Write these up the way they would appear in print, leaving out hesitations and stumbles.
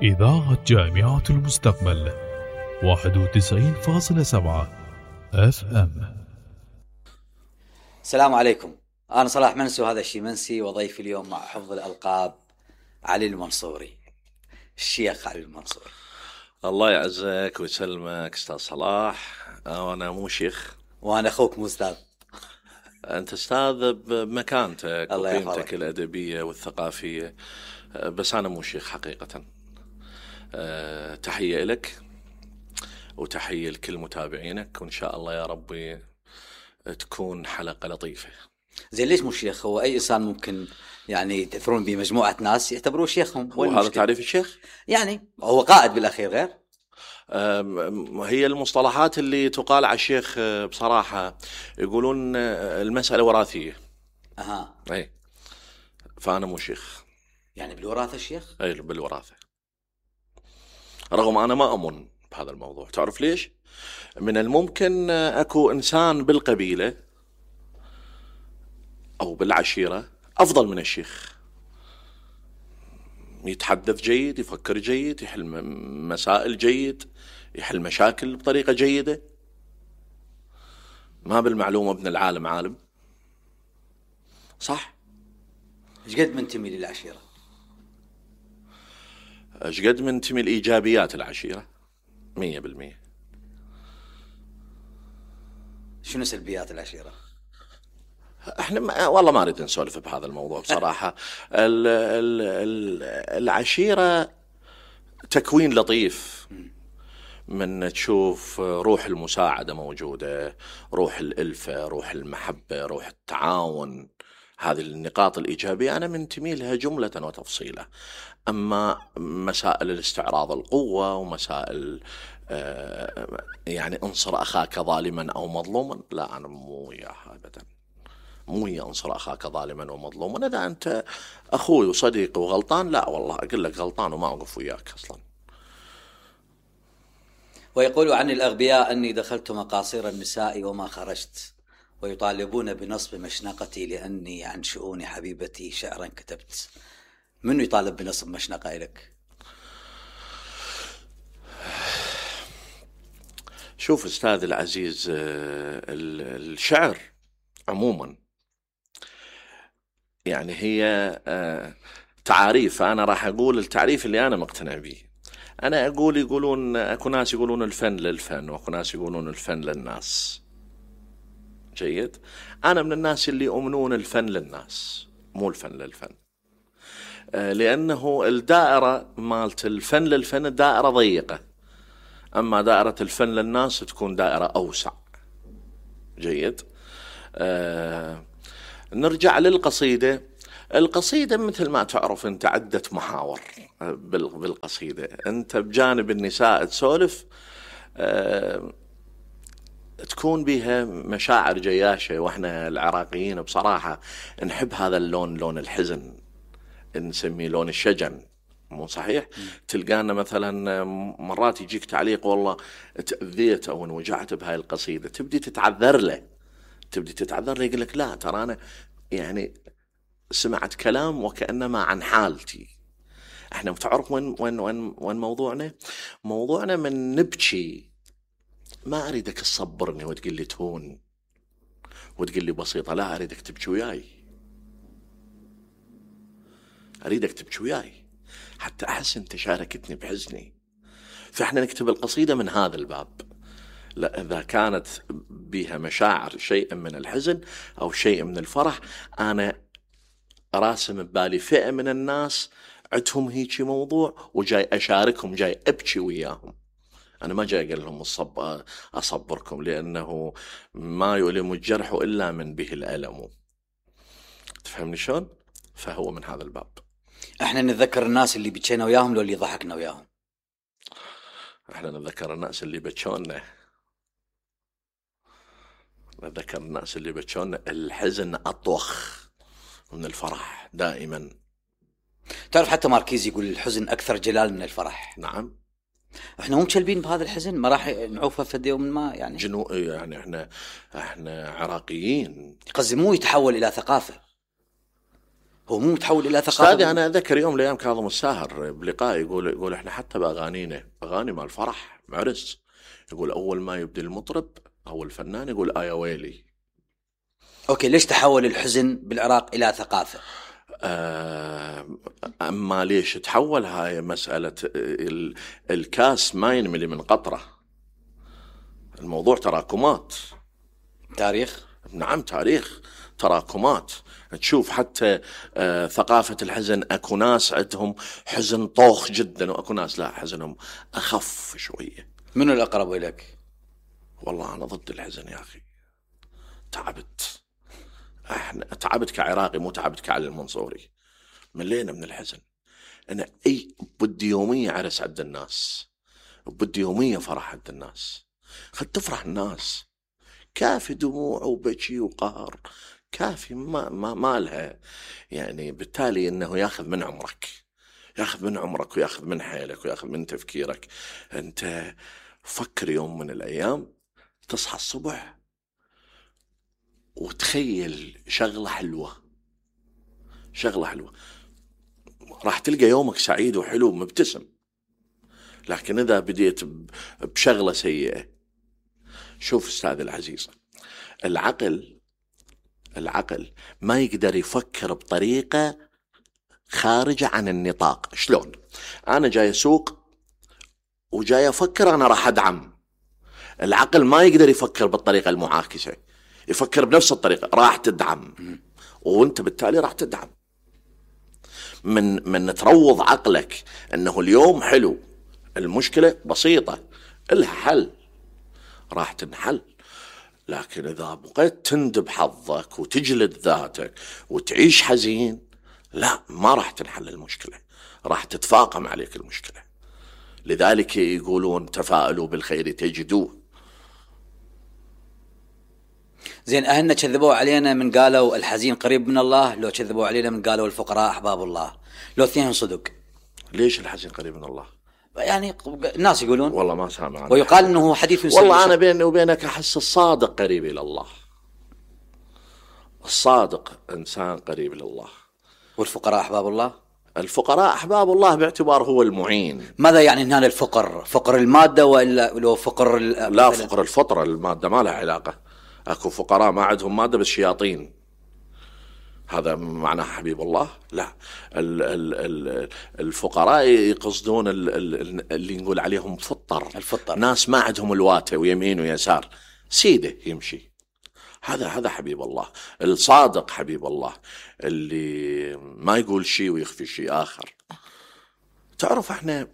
إذاعة جامعة المستقبل 91.7 FM. السلام عليكم، أنا صلاح منسي وهذا الشيمنسي، وضيفي اليوم مع حفظ الألقاب علي المنصوري. الشيخ علي المنصوري. الله يعزك ويسلمك أستاذ صلاح. أنا مو شيخ، وأنا أخوك مو أستاذ. أنت أستاذ بمكانتك وقيمتك يحفظك. الأدبية والثقافية، بس أنا مو شيخ حقيقة. تحية لك وتحية لكل متابعينك، وإن شاء الله يا ربي تكون حلقة لطيفة. زين، ليش مو شيخ؟ هو أي إنسان ممكن يعني يتأثرون بمجموعة ناس يعتبروه شيخهم. وهذا تعريف الشيخ؟ يعني هو قائد بالأخير غير. هي المصطلحات اللي تقال على الشيخ بصراحة يقولون المسألة وراثية. أي، فأنا مو شيخ. يعني بالوراثة الشيخ؟ أي بالوراثة، رغم أنا ما أؤمن بهذا الموضوع. تعرف ليش؟ من الممكن أكو إنسان بالقبيلة أو بالعشيرة أفضل من الشيخ، يتحدث جيد، يفكر جيد، يحل مسائل جيد، يحل مشاكل بطريقة جيدة، ما بالمعلومة ابن العالم عالم. صح؟ ايش قد منتمي للعشيرة؟ ايش قد منتمي لإيجابيات العشيرة؟ 100%. شنو سلبيات العشيرة؟ احنا والله ما اريد نسولف بهذا الموضوع بصراحة. العشيرة تكوين لطيف، من تشوف روح المساعدة موجودة، روح الألفة، روح المحبة، روح التعاون. هذه النقاط الإيجابية أنا منتمي لها جملة وتفصيلة. أما مسائل الاستعراض القوة ومسائل يعني انصر أخاك ظالما أو مظلوما، لا، أنا مو وياها أبدا. مو ويا انصر أخاك ظالما ومظلوما. إذا أنت أخوي وصديقي وغلطان، لا والله أقول لك غلطان وما أوقف وياك أصلا. ويقول عن الأغبياء أني دخلت مقاصير النساء وما خرجت، ويطالبون بنصب مشنقتي لأني عن شؤون حبيبتي شعرا كتبت. منو يطالب بنصب مشنقة إلك؟ شوف أستاذ العزيز، الشعر عموما يعني هي تعاريف. أنا راح أقول التعريف اللي أنا مقتنع به. أنا يقولون أكو ناس يقولون الفن للفن، وأكو ناس يقولون الفن للناس. جيد. أنا من الناس اللي يؤمنون الفن للناس مو الفن للفن، لأنه الدائرة مالت الفن للفن دائرة ضيقة، أما دائرة الفن للناس تكون دائرة أوسع. جيد. نرجع للقصيدة. القصيدة مثل ما تعرف أنت عدة محاور بالقصيدة. أنت بجانب النساء تسولف، تكون بها مشاعر جياشة، وإحنا العراقيين بصراحة نحب هذا اللون، لون الحزن، نسميه لون الشجن. مو صحيح؟ تلقانا مثلا مرات يجيك تعليق والله تأذيت أو انوجعت بهاي القصيدة، تبدي تتعذر له يقول لك لا ترى أنا يعني سمعت كلام وكأنما عن حالتي. احنا بتعرف وين موضوعنا من نبكي. ما أريدك تصبرني وتقول لي تهون وتقول لي بسيطة، لا، أريدك تبكي وياي حتى أحس أنت شاركتني بحزني. فإحنا نكتب القصيدة من هذا الباب. لا، إذا كانت بها مشاعر شيء من الحزن أو شيء من الفرح، أنا راسم ببالي فئة من الناس عندهم هيك موضوع وجاي أشاركهم، جاي أبكي وياهم. أنا ما جاي أقول لهم أصبركم، لأنه ما يؤلم الجرح إلا من به الألم. تفهمني شون؟ فهو من هذا الباب. احنا نتذكر الناس اللي بكينا وياهم لو اللي ضحكنا وياهم؟ احنا نتذكر الناس اللي بكونا، نتذكر الناس اللي بكونا. الحزن أطوخ من الفرح دائما. تعرف حتى ماركيز يقول الحزن أكثر جلال من الفرح. نعم. احنا مو مشلبين بهذا الحزن، ما راح نعوفه في يوم ما يعني. يعني احنا عراقيين. قصدي مو يتحول إلى ثقافة. هو مو متحول الى ثقافه. استاذي انا اذكر يوم من الايام كاظم الساهر بلقاء يقول احنا حتى باغانينا اغاني مال فرح معرس، يقول اول ما يبدي المطرب او الفنان يقول يا ويلي. اوكي، ليش تحول الحزن بالعراق الى ثقافه؟ اما ليش تحول، هاي مساله الكاس ما ينملي من قطره، الموضوع تراكمات. تاريخ. نعم تاريخ، تراكمات. تشوف حتى ثقافة الحزن، أكو ناس عندهم حزن طوخ جدا، وأكو ناس لا حزنهم أخف شوية. منو الأقرب إليك؟ والله أنا ضد الحزن يا أخي، تعبت. احنا تعبت كعراقي، مو تعبت كعلي المنصوري، ملينا من الحزن. أنا بدي يومية عرس عند الناس، بدي يومية فرح عند الناس، خد تفرح الناس. كافي دموع وبكي وقهر، كافي ما لها يعني. بالتالي انه ياخذ من عمرك، ياخذ من عمرك وياخذ من حيلك وياخذ من تفكيرك. انت فكر يوم من الايام تصحى الصبح وتخيل شغلة حلوة، شغلة حلوة، راح تلقى يومك سعيد وحلو مبتسم. لكن اذا بديت بشغلة سيئة، شوف استاذ العزيز، العقل ما يقدر يفكر بطريقة خارجة عن النطاق. شلون؟ أنا جاي أسوق وجاي أفكر أنا راح أدعم، العقل ما يقدر يفكر بالطريقة المعاكسة، يفكر بنفس الطريقة، راح تدعم وانت بالتالي راح تدعم. من تروض عقلك أنه اليوم حلو، المشكلة بسيطة إلها حل، راح تنحل. لكن إذا بقيت تندب حظك وتجلد ذاتك وتعيش حزين، لا، ما راح تنحل المشكلة، راح تتفاقم عليك المشكلة. لذلك يقولون تفاءلوا بالخير تجدوه. زين، أهلنا كذبوا علينا من قالوا الحزين قريب من الله، لو كذبوا علينا من قالوا الفقراء أحباب الله، لو اثنين صدق؟ ليش الحزين قريب من الله؟ يعني الناس يقولون، والله ما سامع، ويقال انه حديث والله انا بيني وبينك احس الصادق قريب الى الله، الصادق انسان قريب لله. والفقراء احباب الله؟ الفقراء احباب الله باعتبار هو المعين. ماذا يعني هنا الفقر؟ فقر الماده ولا لو فقر لا، فقر الفطره، الماده ما لها علاقه. اكو فقراء ما عندهم ماده بس شياطين، هذا معناه حبيب الله؟ لا، الفقراء يقصدون اللي نقول عليهم الفطر، ناس ما عندهم الواتة ويمين ويسار، سيده يمشي، هذا حبيب الله. الصادق حبيب الله، اللي ما يقول شيء ويخفي شيء آخر. تعرف احنا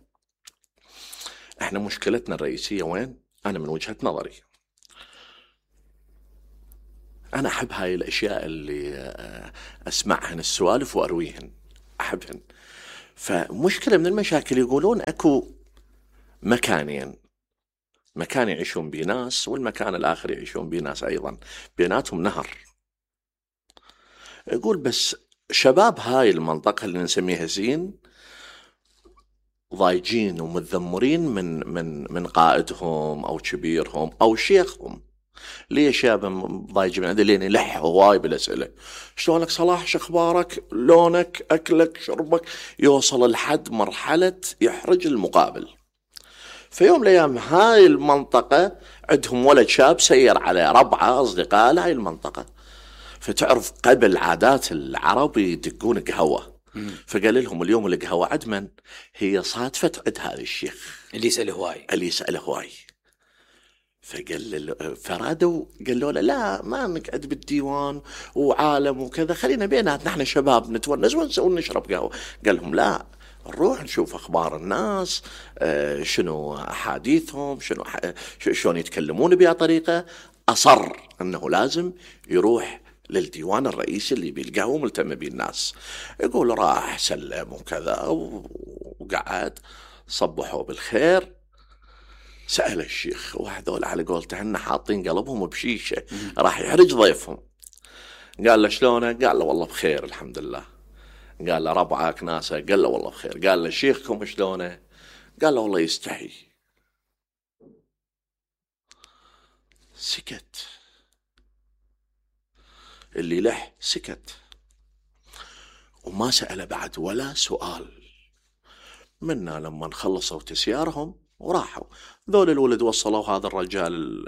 مشكلتنا الرئيسية وين؟ أنا من وجهة نظري، أنا أحب هاي الأشياء اللي أسمعهن، السوالف وأرويهن، أحبهن. فمشكلة من المشاكل يقولون أكو مكانين، مكان يعيشون بيه ناس والمكان الآخر يعيشون بيه ناس أيضا، بيناتهم نهر. يقول بس شباب هاي المنطقة اللي نسميها زين ضايجين ومتذمرين من قائدهم أو كبيرهم أو شيخهم. ليش يا ابن ضايج من عندي؟ لين يلح هواي بالأسئلة، شلونك صلاح، شخبارك، لونك، أكلك، شربك، يوصل لحد مرحلة يحرج المقابل. في يوم من الأيام هاي المنطقة عندهم ولد شاب سير على 4 أصدقاء لهاي المنطقة، فتعرف قبل عادات العرب يدقون قهوة، فقال لهم اليوم القهوة عند من؟ هي صادفت عند هذا الشيخ اللي يسأله هواي. فقال فرادوا قالوا له لا، ما نقعد بالديوان وعالم وكذا، خلينا بيناتنا احنا شباب نتونس ونشرب قهوة. قال لهم لا، نروح نشوف أخبار الناس، شنو أحاديثهم، شلون يتكلمون بها طريقة. أصر أنه لازم يروح للديوان الرئيسي اللي بالقهوة ملتم به الناس. يقول راح سلم وكذا وقعد، صبحوا بالخير. سأل الشيخ، وهذول على قولته هن حاطين قلبهم بشيشة، راح يحرج ضيفهم. قال له شلونه؟ قال له والله بخير الحمد لله. قال له ربعك ناسه؟ قال له والله بخير. قال له شيخكم شلونه؟ قال له والله يستحي. سكت، اللي لح سكت. وما سأله بعد ولا سؤال. منا لما خلصوا تسيارهم وراحوا، ذول الولد وصلوا هذا الرجال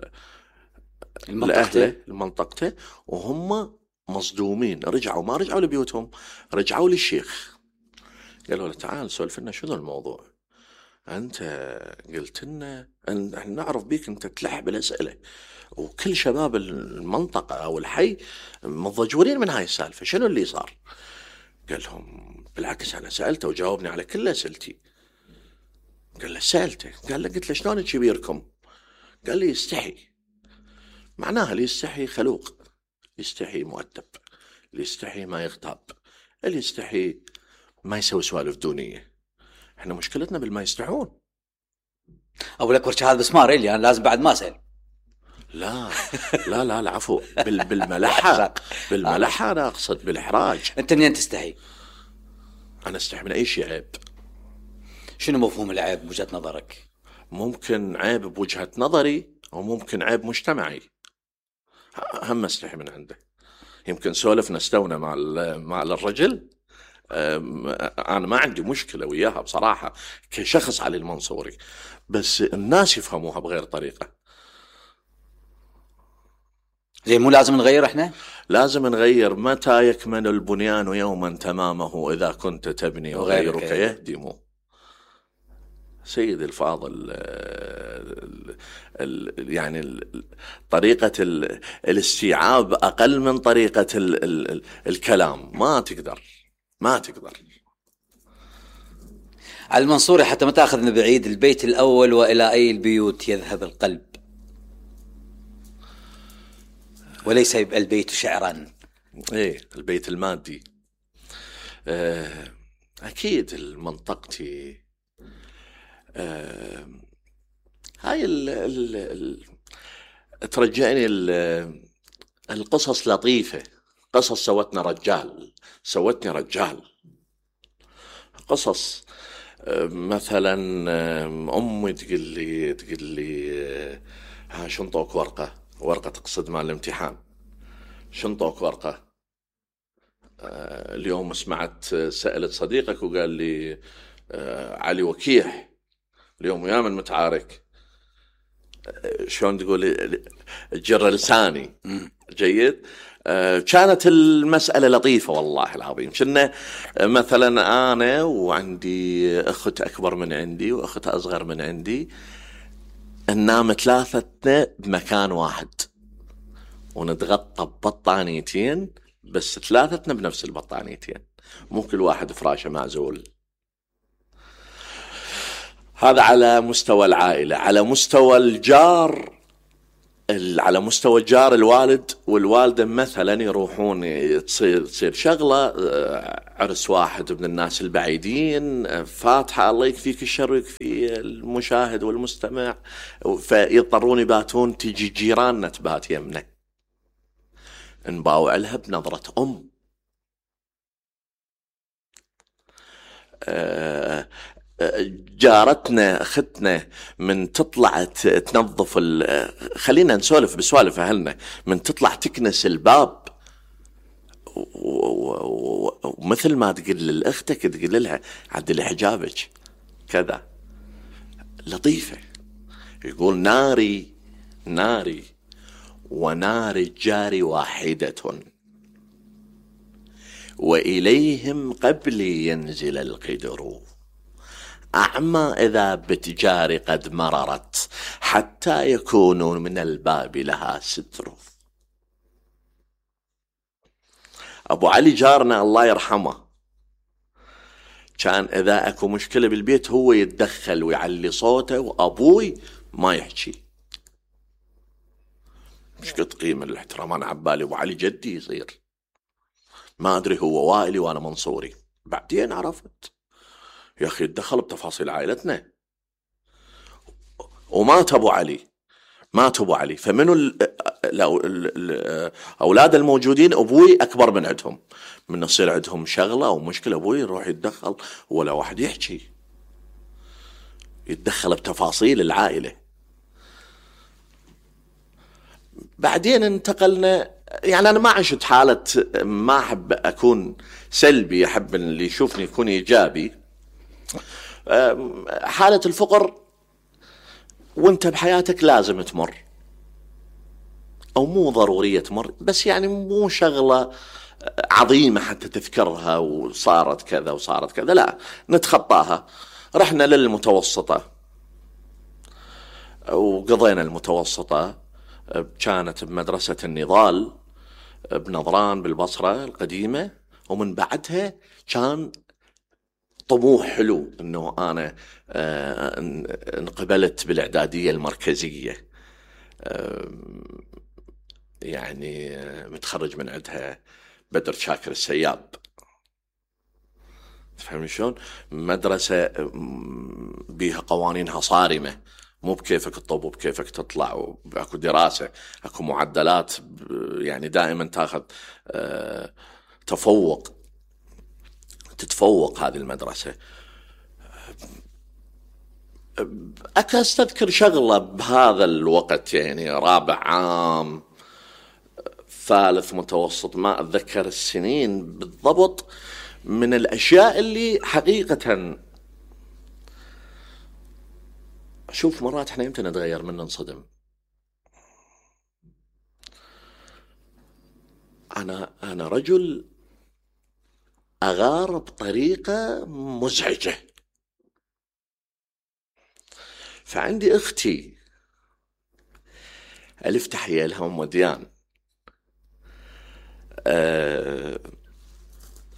لأهله لمنطقته وهم مصدومين. رجعوا، ما رجعوا لبيوتهم، رجعوا للشيخ قالوا له تعال سولف لنا شنو الموضوع، أنت قلت لنا احنا نعرف بيك أنت تلح بالأسئلة وكل شباب المنطقة أو الحي مضجورين من هاي السالفة، شنو اللي صار؟ قال لهم بالعكس أنا سألته وجاوبني على كل أسئلتي. قال له سألته؟ قال له قلت له شلون كبيركم؟ قال لي يستحي. معناها اللي يستحي خلوق، يستحي مؤدب، اللي يستحي ما يغتاب، اللي يستحي ما يسوي سوالف دونية. احنا مشكلتنا بالما يستحون. أبو الأكبر هذا بسمار إلي أنا لازم بعد ما أسأل. لا لا لا العفو، بالملحة بالملحة أنا أقصد بالإحراج. أنت منين تستحي؟ أنا أستحي من أي شيء عيب. شنو مفهوم العيب بوجهة نظرك؟ ممكن عيب بوجهة نظري وممكن عيب مجتمعي، هم استحي من عنده. يمكن سولفنا استونا مع الرجل، أنا ما عندي مشكلة وياها بصراحة كشخص علي المنصوري، بس الناس يفهموها بغير طريقة. زي مو لازم نغير احنا؟ لازم نغير. متى يكمن البنيان يوما تمامه إذا كنت تبني وغيرك يهدم. سيد الفاضل، يعني طريقة الاستيعاب أقل من طريقة الكلام. ما تقدر. على المنصوري حتى ما تأخذ من بعيد، البيت الأول وإلى أي البيوت يذهب القلب وليس يبقى البيت شعرا. ايه البيت المادي. أكيد المنطقتي هاي ترجعني القصص لطيفة، قصص سوتني رجال. قصص مثلا أمي تقول لي ها شنطوك ورقة تقصد مع الامتحان، شنطوك ورقة. اليوم سمعت سألت صديقك وقال لي علي وكيح اليوم ويا من متعارك، شلون تقول جر لساني. جيد. كانت المسألة لطيفة والله العظيم. كنا مثلا أنا وعندي أخت أكبر من عندي وأخت أصغر من عندي، ننام ثلاثتنا بمكان واحد ونتغطى ببطانيتين، بس ثلاثتنا بنفس البطانيتين، مو كل واحد فراشه معزول. هذا على مستوى العائلة. على مستوى الجار، الوالد والوالدة مثلا يروحون تصير شغلة، عرس واحد من الناس البعيدين، فاتحة الله يكفيك الشر ويكفي المشاهد والمستمع، فيضطرون يباتون، تيجي جيراننا تبات يمنا، نباوع لها بنظرة أم. جارتنا اختنا من تطلع تنظف خلينا نسولف بسوالف اهلنا، من تطلع تكنس الباب ومثل ما تقول للاختك تقول لها عدلي حجابك كذا. لطيفة. يقول ناري ونار الجار واحدة وإليهم قبلي ينزل القدر، أعمى إذا بتجار قد مررت حتى يكونوا من الباب لها ستر. أبو علي جارنا الله يرحمه كان إذا أكو مشكلة بالبيت هو يتدخل ويعلي صوته، وأبوي ما يحكي. مش قد قيمة الاحترام. أنا عبالي أبو علي جدي يصير، ما أدري هو وائلي وأنا منصوري. بعدين عرفت يا أخي اتدخل بتفاصيل عائلتنا. ومات أبو علي فمنو أولاد الموجودين أبوي أكبر من عندهم، من يصير عندهم شغلة أو مشكلة أبوي يروح يتدخل ولا واحد يحكي، يتدخل بتفاصيل العائلة. بعدين انتقلنا يعني أنا ما عشت حالة، ما أحب أكون سلبي، أحب اللي يشوفني يكون إيجابي. حالة الفقر وانت بحياتك لازم تمر، أو مو ضرورية تمر، بس يعني مو شغلة عظيمة حتى تذكرها وصارت كذا وصارت كذا، لا نتخطاها. رحنا للمتوسطة وقضينا المتوسطة، كانت بمدرسة النضال بنظران بالبصرة القديمة، ومن بعدها كان طموح حلو انه انا انقبلت بالاعدادية المركزية، يعني متخرج من عندها بدر شاكر السياب. تفهم شلون؟ مدرسة بيها قوانينها صارمة، مو بكيفك تطب وبكيفك تطلع، واكو دراسة، اكو معدلات، يعني دائما تاخذ تفوق، تتفوق هذه المدرسة. أستذكر شغلة بهذا الوقت، يعني رابع عام ثالث متوسط، ما أتذكر السنين بالضبط، من الأشياء اللي حقيقة أشوف مرات إحنا يمكن نتغير منه نصدم. أنا رجل أغار بطريقة مزعجة، فعندي أختي ألف تحية لها أم وديان،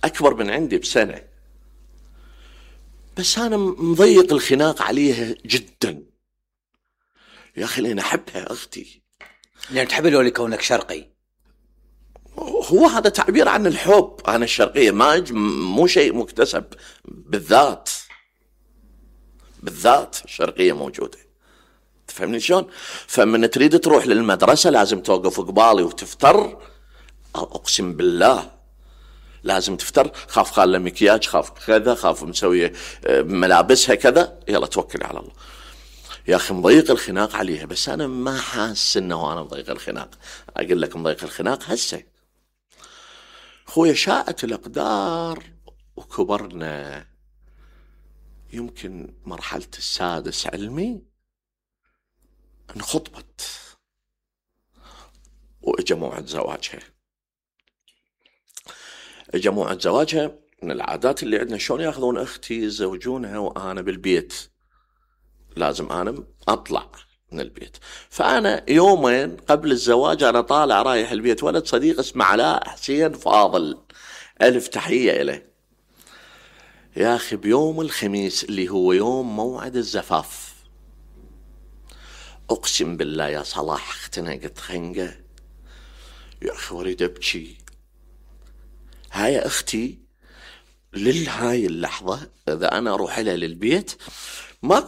أكبر من عندي بسنة، بس أنا مضيق الخناق عليها جدا. يا أخي لين أحبها أختي، يعني تحب له لكونك شرقي؟ هو هذا تعبير عن الحب. أنا الشرقية مو شيء مكتسب، بالذات الشرقية موجودة. تفهمني شلون؟ فمن تريد تروح للمدرسة لازم توقف قبالي وتفتر، أقسم بالله لازم تفتر. خاف خاله مكياج، خاف كذا، خاف مسوية ملابسها كذا، يلا توكل على الله. يا أخي مضيق الخناق عليها، بس أنا ما حاس إنه أنا مضيق الخناق. أقول لك مضيق الخناق هسه خويا، شاءت الأقدار وكبرنا، يمكن مرحلة السادس علمي انخطبت وإجا موعد زواجها. إجا موعد زواجها، من العادات اللي عندنا شلون ياخذون أختي يزوجونها وأنا بالبيت، لازم أنا أطلع من البيت. فأنا يومين قبل الزواج أنا طالع رايح البيت، ولد صديق اسمه علاء حسين فاضل، ألف تحية إليه. يا أخي بيوم الخميس اللي هو يوم موعد الزفاف، أقسم بالله يا صلاح اختنقت خنقة يا أخي، وريد أبكي. هاي أختي للهاي اللحظة إذا أنا أروح لها للبيت ماكو